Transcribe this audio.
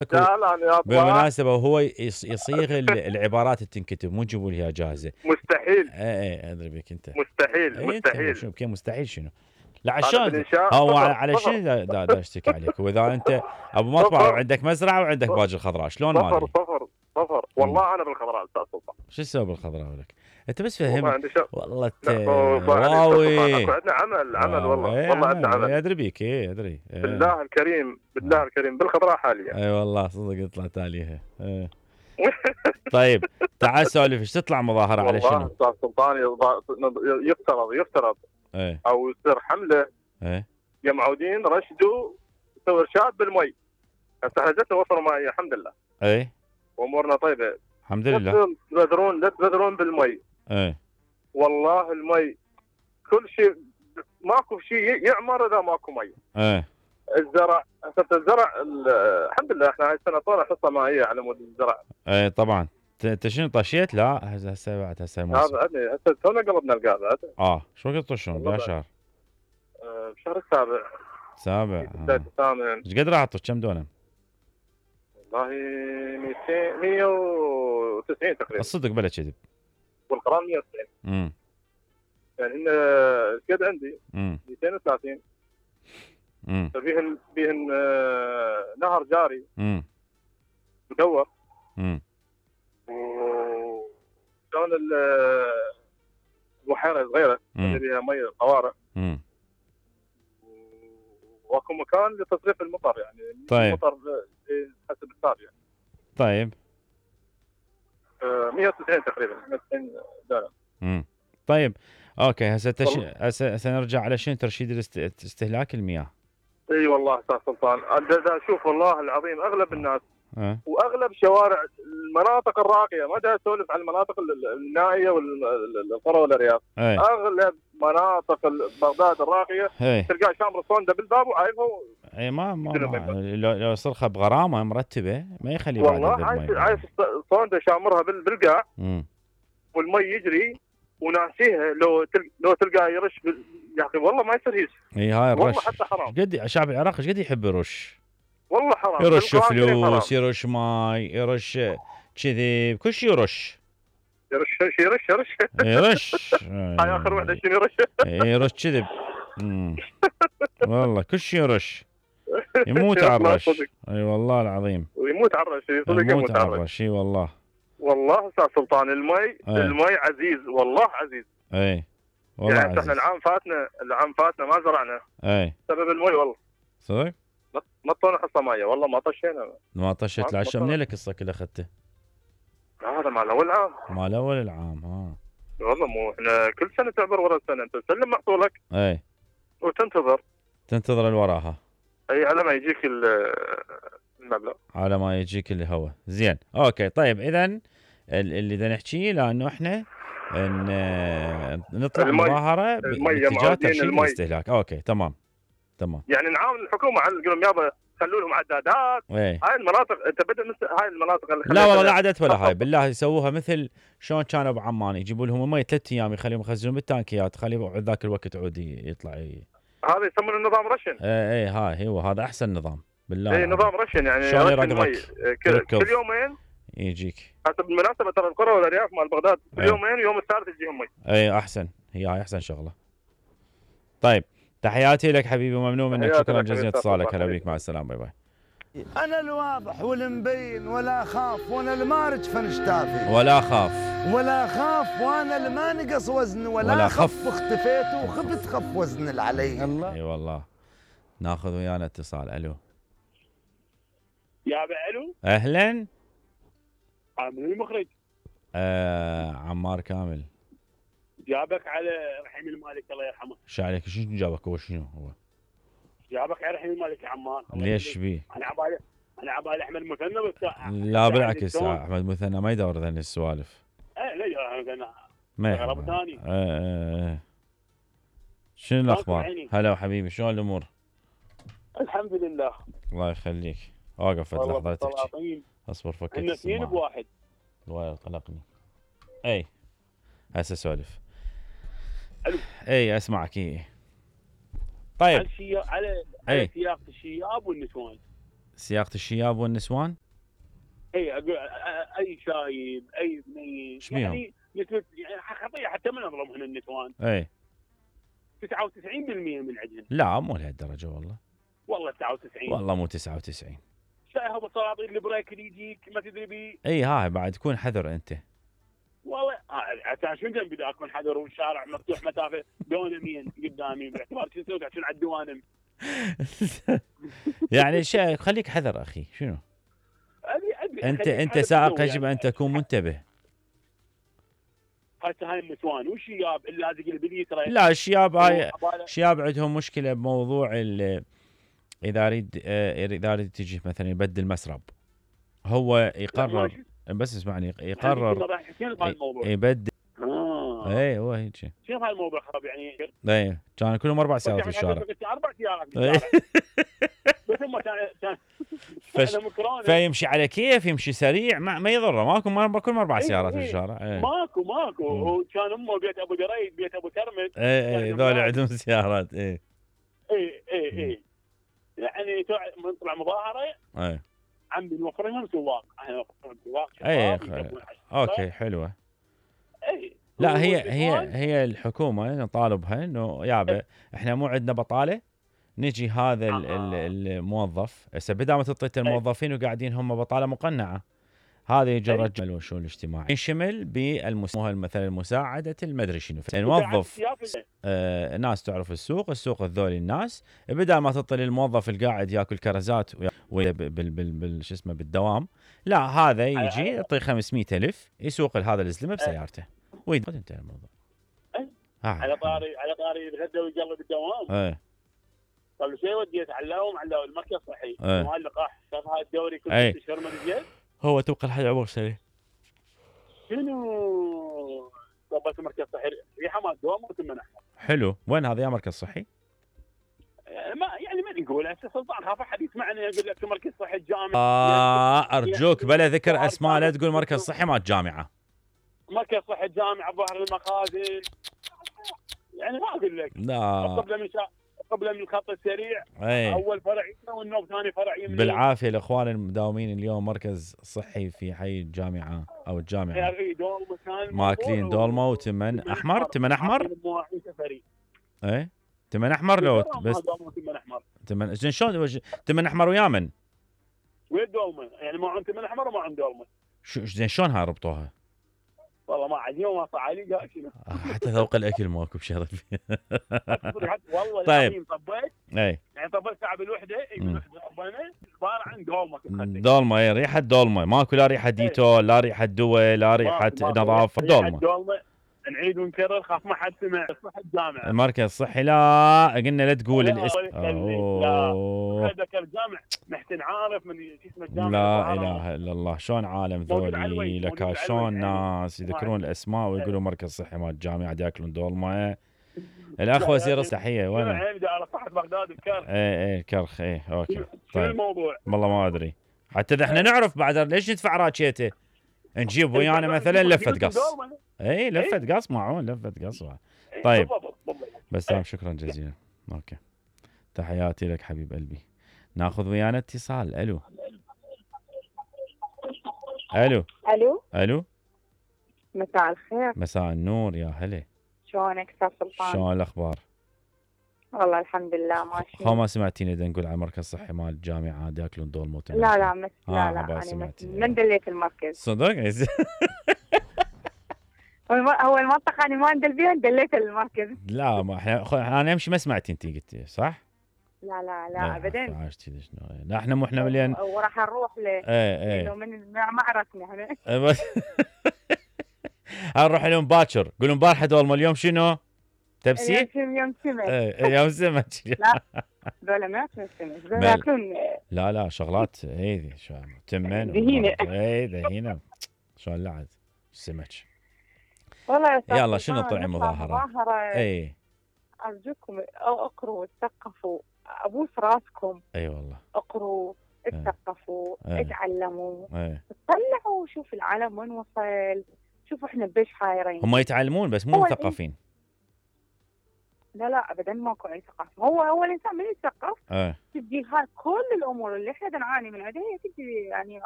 لا لا يا اطلع. بالمناسبه وهو يصيغ العبارات تنكتب مو تجيبوا لي جاهزه. مستحيل. اي ادري بك انت. مستحيل مستحيل. مستحيل. شنو مستحيل شنو؟ لا عشان هو صفر على صفر شنو دا اشتكي عليك؟ واذا انت ابو مطبخ صفر وعندك مزرعه وعندك باجي الخضراء شلون ما صفر ادري؟ صفر صفر. والله انا بالخضراء استاذ سلطان. شو تسوي بالخضراء لك؟ انت بس والله فهمني. عندي شغل. والله واوي واوي عندنا عمل والله. ايه والله عندنا عمل. ادري بيك ادري. بالله الكريم بالله الكريم بالخضراء حاليا. اي والله صدق طلعت عليها. طيب تعال سولف ايش تطلع مظاهره على شنو؟ والله استاذ سلطان يفترض او يصير حمله. يا رشدوا يسوي ارشاد بالمي. هسه احنا جتنا وفر ماء الحمد لله. وامورنا طيبه الحمد لله. لا تبذرون بالمي. والله المي كل شيء ماكو شيء يعمر اذا ماكو مي. الزرع الحمد لله احنا هاي السنه طالع حصه مائيه على مود الزرع. طبعا. انت شنو طشيت؟ لا هسه بعد هسه هذا تونا قلبنا القاعده هذا. شو وقت تطشون؟ بها شهر؟ بشهر السابع. بداية الثامن. ايش قد راح تطش؟ كم دونم؟ والله 200 190 تقريبا. الصدق بلا كذب. والقران 190. يعني هن قد عندي 230. فيهن نهر جاري مدور. وشلون البحيره صغيره اللي فيها مي قوارع. واكو مكان لتصريف المطر يعني. طيب. المطر حسب الساب يعني. طيب 190 تقريبا 190 دولار. طيب اوكي هسه نرجع على شنو ترشيد استهلاك المياه. اي والله استاذ سلطان انا اشوف والله العظيم اغلب الناس واغلب شوارع المناطق الراقيه ما دا اسولف عن المناطق النائيه والقرى والارياف. اغلب مناطق بغداد الراقيه تلقاه شامر الصونده بالباب وعايفه. اي ما لو صرخه بغرامه مرتبه ما يخلي بعد. والله عايف الصونده شامرها بالقاع والمي يجري وناسيها. لو تلقاه يرش يا اخي والله ما يصير هيس. هاي الرش والله حتى حرام. قد شعب العراق ايش قد يحب يرش. والله حرام. يرش فلوس يرش ماي يرش كذب كل شيء يرش. يرش هاي اخر وحده شنو يرش. يرش كذب. والله كل شيء يرش. يموت على الرش. اي والله العظيم. ويموت على الرش. يموت على الرش. اي والله. والله استاذ سلطان المي عزيز والله عزيز. والله يعني احنا العام فاتنا ما زرعنا. سبب المي والله. صدق؟ ما طلعنا حصه مايه والله ما طشينا. ما طشيت العشاء منين لك الصك اللي اخذته؟ هذا مال اول عام. مال اول العام والله مو احنا كل سنه تعبر ورا السنه انت تسلم محصولك. وتنتظر اللي وراها. على ما يجيك المبلغ. على ما يجيك اللي هو زين. اوكي طيب اذا اللي بدنا نحكيه لانه احنا نطلع مظاهره باتجاه ترشيد الاستهلاك. اوكي تمام. يعني نعاون الحكومه على نقول لهم يابا خلوا لهم عدادات. هاي المناطق انت بدل هاي المناطق اللي لا والله لا عدد ولا هاي بالله يسووها مثل شلون كانوا بعمان يجيبوا لهم مي 3 ايام يخليهم يخزنون بالتانكيات خليه ذاك الوقت عودي يطلع. هذا يسمونه النظام رشن. هاي هو هذا احسن نظام بالله. نظام رشن يعني شلون يرقبك كل يومين يجيك. حسب بالمناسبه ترى القرى والارياف مال بغداد كل يومين ويوم الثالث يجيهم مي. احسن. هاي احسن شغله. طيب تحياتي لك حبيبي وممنون منك. شكرا جزيلا اتصالك. هلا بيك مع السلامه. باي باي. انا الواضح والمبين ولا اخاف وانا المارج فنشتافي ولا خاف وانا اللي ما نقص وزن ولا خف اختفيت وخفت خف وزن اللي علي. اي والله. ناخذ ويانا اتصال. الو يا الو اهلا. من المخرج. عمار كامل. جابك على رحيم المالك الله يرحمه. ايش عليك؟ شنو جابك هو؟ شنو هو؟ جابك على رحيم المالك يا عمار. ليش بيه؟ انا عبالي احمد مثنى لا بالعكس احمد مثنى ما يدور ذني السوالف. لا يدور ما غرض ثاني. شنو الاخبار؟ هلا وحبيبي شلون الامور؟ الحمد لله. الله يخليك. واقف لحظه تحكي. اصبر فكك. احنا اثنين بواحد. الله قلقني. اي هسه سولف. الو اسمعك. طيب على سياق الشياب والنسوان. سياقة الشياب والنسوان؟ اي اقول اي شايب اي بنيه يعني نسبة يعني خطيه حتى من اظلمهن النسوان. اي 99% من عندهن. لا مو لهالدرجه والله 99 والله مو 99. شايف السلاطين البريك اللي يجيك ما تدري بيه. اي هاي بعد تكون حذر انت. والله عشان شنو جنبي ذا اكون حذر والشارع مفتوح مسافه دونمين قدامي باعتبار شو نسوي عشان على الدوانم. يعني خليك حذر اخي شنو؟ انت سائق يجب ان تكون منتبه. هسه هاي النسوان والشياب اللي لازق البليتره. لا الشياب هاي الشياب عندهم مشكله بموضوع اذا اريد تجي مثلا يبدل مسرب هو يقرر بس اسمعني يقرر يبدل. اي هو هيك شوف هاي الموضوع خرب يعني. اي كان كلهم 4 سيارات في الشارع. 4 سيارات في الشارع بس هم كان فيمشي على كيف يمشي سريع ما يضره ماكو 4 سيارات في الشارع. ماكو وكان امه بيت ابو دريد بيت ابو ترمد. اي ذول عندهم سيارات. اي يعني من طلع مظاهره عمي نوفر لهم سواق. احنا نوفر سواق. اوكي حلوه. لا هي الحكومه نطالبها انه يابا احنا مو عندنا بطاله نجي هذا الموظف هسه بدل ما تعطي الموظفين وقاعدين هم بطاله مقنعه هذا يجي الرجل والشؤون الاجتماعي ينشمل مثلا مساعده المدري شنو نوظف ناس تعرف السوق الذول الناس بدل ما تعطي للموظف القاعد ياكل كرزات شو اسمه بالدوام لا هذا يجي يعطي 500,000 يسوق لهذا الزلمه بسيارته وينتهي الموضوع. على طاري الغدا ويقلب الدوام. قبل شيء وديت علّاهم المركز الصحي مال اللقاح. شاف هاي الدوري كل 6 اشهر ما نزل. هو توقع لحد عمر سنه. شنو ضبط المركز الصحي ريحه ما دوام وثمن احمر. حلو وين هذا يا مركز صحي؟ ما نقول هسه سلطان خاف احد يسمعني يقول لك مركز صحي الجامعه. ارجوك بلا ذكر اسماء لا تقول مركز صحي مال الجامعه. مركز صحي الجامعه ظهر المخازن يعني ما اقول لك. لا قبل من الخط السريع. اول فرع والنوب ثاني فرع يمين. بالعافيه الاخوان المداومين اليوم مركز صحي في حي الجامعه او الجامعه ماكلين دولمه وتمن احمر. تمن احمر تمن احمر لو بس تمن شلون تمن احمر ويامن وين دولمه يعني ما عندهم تمن احمر وما عندهم دولمه. زين شلون هاي ربطوها؟ والله ما عاد يوم صعالي قال شنو حتى ذوق الاكل ماكو بشرف. والله طيب طبيت يعني طبيت ساعه بالوحده طبينا عباره عن دولمه ريحه دولمه ماكو لا ريحه ديتول لا ريحه دواء لا ريحه نظافه دولمه. نعيد ونكرر خاف ما حد سمع. صحة الجامعة المركز الصحي لا قلنا لا تقول الاسم. هذاك الجامع محسن عارف من اسم الجامع. لا اله الا الله شلون عالم ذولي لك شلون ناس يذكرون الاسماء ويقولوا مركز صحي مال الجامعه ياكلون دولمه. الاخ وزير الصحيه وين؟ على صحة بغداد الكرخ. الكرخ اوكي. طيب شو الموضوع؟ والله ما ادري حتى احنا نعرف بعد ليش ندفع راتشيته نجيب ويانا مثلا لفه قص. لفه قص معون لفه قص. طيب بس شكرا جزيلا. اوكي تحياتي لك حبيب قلبي. ناخذ ويانا اتصال. الو مساء الخير. مساء النور يا هلا. شلونك استاذ سلطان؟ شلون الاخبار؟ والله الحمد لله ماشي. ما سمعتيني دا نقول على مركز صحي مال الجامعه ياكلون دول موت. لا انا من دليت المركز صدق. هو المنطقه انا ما ندل بيها دليت المركز. لا ما احنا انا امشي ما سمعتي انت قلتي صح؟ لا ابدا. عاشتي شنو؟ لا احنا مو احنا مليان وراح نروح له. انه من ما عرفنا احنا. نروح لهم باكر قولوا امبارح دول اليوم شنو؟ تبسي؟ يوم سمك. يوم سمك. لا ذولا ما ياكلون سمك ذولا ياكلون. لا شغلات هذي شو تمن. دهينه شلون لعد السمك. والله يا يلا شنو طلع مظاهرة؟ أرجوكم اقروا اتثقفوا ابوس راسكم. والله اقروا اتثقفوا اتعلموا اطلعوا شوف العالم وين وصل. شوفوا احنا بيش حايرين. هم يتعلمون بس مو مثقفين. لا ابدا ماكو اي ثقافه. هو الانسان من يتثقف تجي هاي كل الامور اللي احنا نعاني من عندها هي تجي يعني